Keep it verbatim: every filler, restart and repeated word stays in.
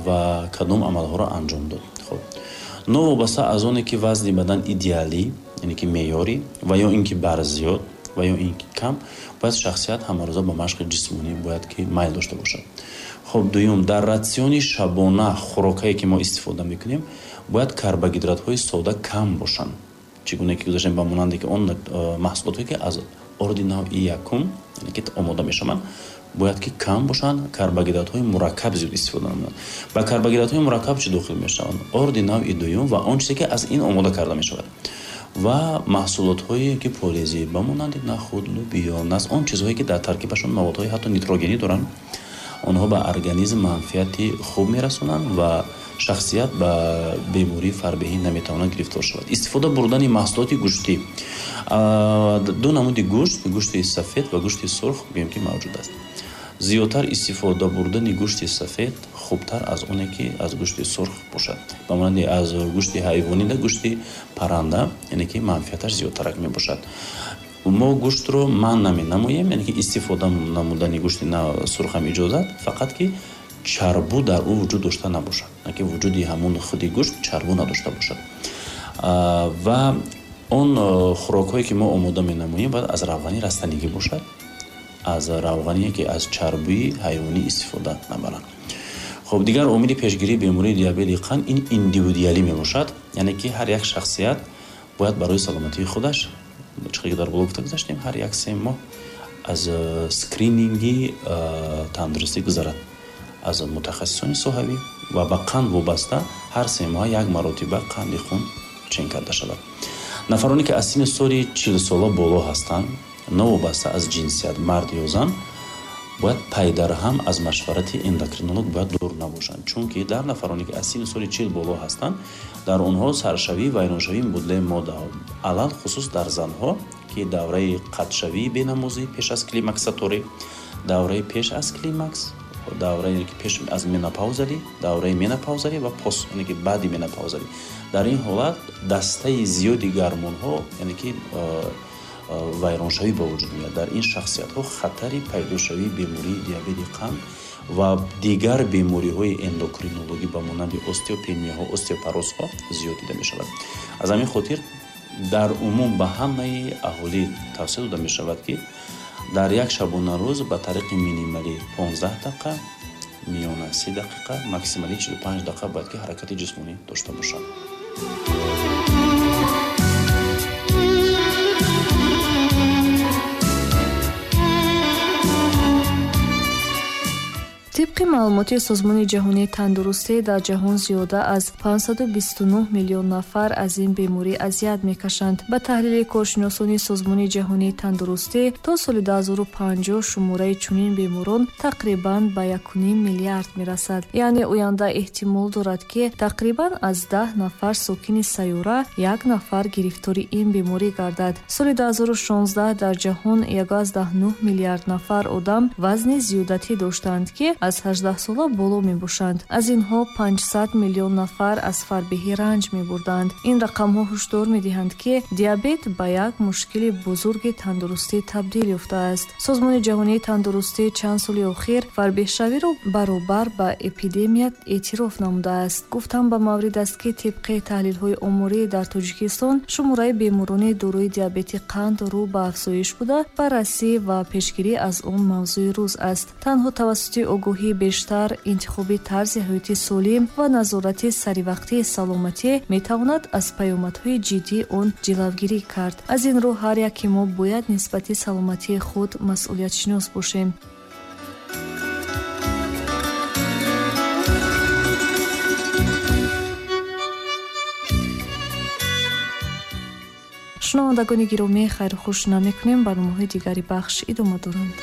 Ва кадом амалҳоро анҷом дод. Хуб, новобаста аз оне ки вазни бадан идеалӣ, яъне ки меъёрӣ, ва ё ин ки барзиёд ва ё ин ки кам, бояд шахсият ҳамарӯза ба машқи ҷисмонӣ бояд ки майл дошта бошад. Хуб, дуюм, дар ратсиони шабона хӯрокае ки мо истифода мекунем, бояд карбогидратҳои сода кам бошанд. Чӣ гуна ки гузаштем, ба монанде ки он маҳсулотҳое ки аз орди навъи якум, яъне ки омода мешаванд, бояд ки кам бошанд, карбогидратҳои мураккаб зиёд истифода намоянд. Ба карбогидратҳои мураккаб чӣ дохил мешаванд? Орди навъи дуюм ва он чизе ки аз ин омода карда мешавад ва маҳсулотҳое ки полезӣ, ба монанди нахуд, лӯбиё, нас, он чизҳое ки дар таркибашон маводҳои ҳатто нитрогенӣ доранд, онҳо ба организм манфиати хуб мерасонанд ва шахсият ба бемории фарбеҳӣ наметавонад гирифтор шавад. Истифода бурдани маҳсулоти гӯштӣ. Ду намуди гӯшт, гӯшти сафед ва гӯшти сурх гӯем ки мавҷуд аст. Зиёдтар истифода бурдани гӯшти сафед хубтар аз оне ки аз гӯшти сурх бошад. Ба монанди аз гӯшти ҳайвонӣ да гӯшти парранда, яъне ки манфиаташ зиёдтарак мебошад. Мо гӯштро манъ наменамоем, яъне ки истифода намудани гӯшти сурх ҳам иҷозат, фақат ки чарбу дар ӯ вуҷуд дошта набошад, яъне ки вуҷуди ҳамон худи гӯшт чарбу надошта бошад. Ва он хӯрокҳое ки мо омода менамоем бояд аз равғани растанигӣ бошад, аз равғане ки аз чарбуи ҳайвонӣ истифода набаранд. Хуб, дигар омили пешгирии бемории диабети қанд ин индивидуалӣ мебошад, яъне ки ҳар як шахсият бояд барои саломатии худаш, чӣ ки дар боло гуфта гузаштем, ҳар як се моҳ аз скрининги тандурустӣ гузарад аз мутахассисони соҳавӣ ва ба қанд вобаста ҳар се моҳ як маротиба қанди хун чен карда шавад. Нафароне ки аз синни соли чилсола боло ҳастанд, новобаста аз ҷинсият, мард ё зан, бояд пайдарҳам аз машварати эндокринолог бояд дур набошанд, чунки дар нафароне ки аз синни соли чил боло ҳастанд, дар онҳо саршавӣ, вайроншавии мубодилаи моддаҳо, алал хусус дар занҳо, ки давраи қатшавии бенамозӣ пеш аз климаксаторӣ, давраи пеш аз климакс, давраи ки пеш аз менопаузалӣ, давраи менопаузалӣ ва пост, яъне ки баъди менопаузалӣ. Дар ин ҳолат дастаи зиёди гармонҳо, яъне ки вайроншавӣ ба вуҷуд меояд. Дар ин шахсиятҳо хатари пайдошавии бемории диабети қанд ва дигар бемориҳои эндокринологӣ ба монанди остеопенияҳо, остеопорозҳо зиёд дида мешавад. Аз ҳамин хотир дар умум ба ҳамаи аҳолӣ тавсия дода мешавад, ки дар як шабонарӯз ба тариқи минималӣ понздаҳ дақиқа, миёна си дақиқа, максималӣ чилу панҷ дақиқа бояд ки ҳаракати ҷисмонӣ дошта бошад. Тибқи маълумоти Созмони ҷаҳонии тандурустӣ, дар ҷаҳон зиёда аз панҷсаду бисту нӯҳ миллион нафар аз ин беморӣ азият мекашанд. Ба таҳлили коршиносони Созмони ҷаҳонии тандурустӣ, то соли ду ҳазору панҷоҳ шумораи чунин беморон тақрибан ба яку ним миллиард мерасад. Яъне оянда эҳтимол дорад, ки тақрибан аз даҳ нафар сокини сайёра як нафар гирифтори ин беморӣ гардад. Соли ду ҳазору шонздаҳ дар ҷаҳон як аз даҳ нӯҳ миллиард нафар одам вазни зиёдатӣ доштанд, ки аз ҳаждаҳ сола боло мебошанд. Аз инҳо панҷсад миллион нафар аз фарбеҳӣ ранҷ мебурданд. Ин рақамҳо ҳушдор медиҳанд, ки диабет ба як мушкили бузурги тандурустӣ табдил ёфтааст. Созмони ҷаҳонии тандурустӣ чанд соли охир фарбеҳшавиро баробар ба эпидемия эътироф намудааст. Гуфтам ба маврид аст, ки тибқи таҳлилҳои оморӣ дар Тоҷикистон шумораи беморони дорои диабети қанд рӯ ба афзоиш буда, баррасӣ ва пешгирӣ аз он мавзӯи рӯз аст. Танҳо тавассути огоҳӣ бештар, интихоби тарзи ҳаёти солим ва назорати саривақтии саломатӣ метавонад аз паёмадҳои ҷиддии он ҷилавгирӣ кард. Аз ин рӯ ҳар яке мо бояд нисбати саломатии худ масъулиятшинос бошем. Шунавандагони гиромӣ, хайру хуш намекунем. Барномаҳои дигари бахш идома доранд.